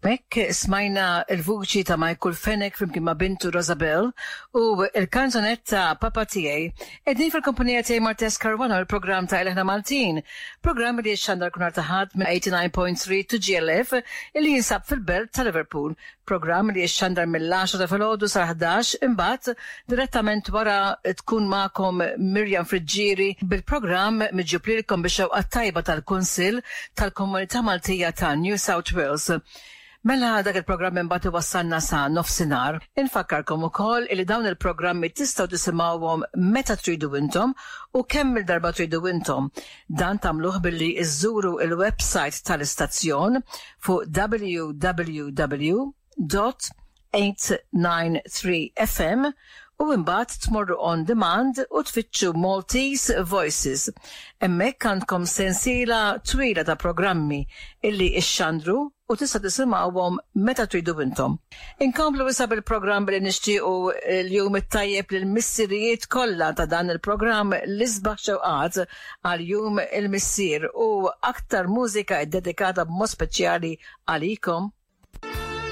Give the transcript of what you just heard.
Hekk smajna l-vuċi ta' Michael Fenech flimkien ma' bintu Rosabelle u l-kanzunetta Papa Tiegħi. Qegħdin fil-kumpanija tiegħi Martes Caruana u l-programm ta' Ilħna Maltin, programm li jixxandar kull nhar ta' Ħadd minn 89.3 2GLF illi jinsab fil-belt ta' Liverpool. Programm li jixxandar mill-għaxra ta' filgħodu sal-ħdax imbagħad direttament wara tkun magħkom Miriam Friggieri bil-programm miġjub lilkom bix-xewqa t-tajba tal-Kunsill tal-Komunità Maltija ta' New South Wales. Mela dak il-programm imbagħad iwassalna sa nofsinhar. Infakkarkom ukoll illi dawn il-programmi tistgħu tisimgħuhom meta tridu intom u kemm-il darba tridu intom. Dan tagħmluh billi żżuru il-website tal-istazzjon fuq www.893fm u imbagħad tmorru on demand u tfittxu Maltese Voices. Hemmhekk għandkom sensiela twila ta' programmi illi ixxandru u tista' tisimgħuhom meta tridu intom. Inkomplu issa bil-programm billi nixtiequ l-jum it-tajjeb lill-missirijiet kollha ta' dan il-programm l-isbaħ xewqat għal Jum il-Missier u aktar mużika ddedikata b'mod speċjali għalikom.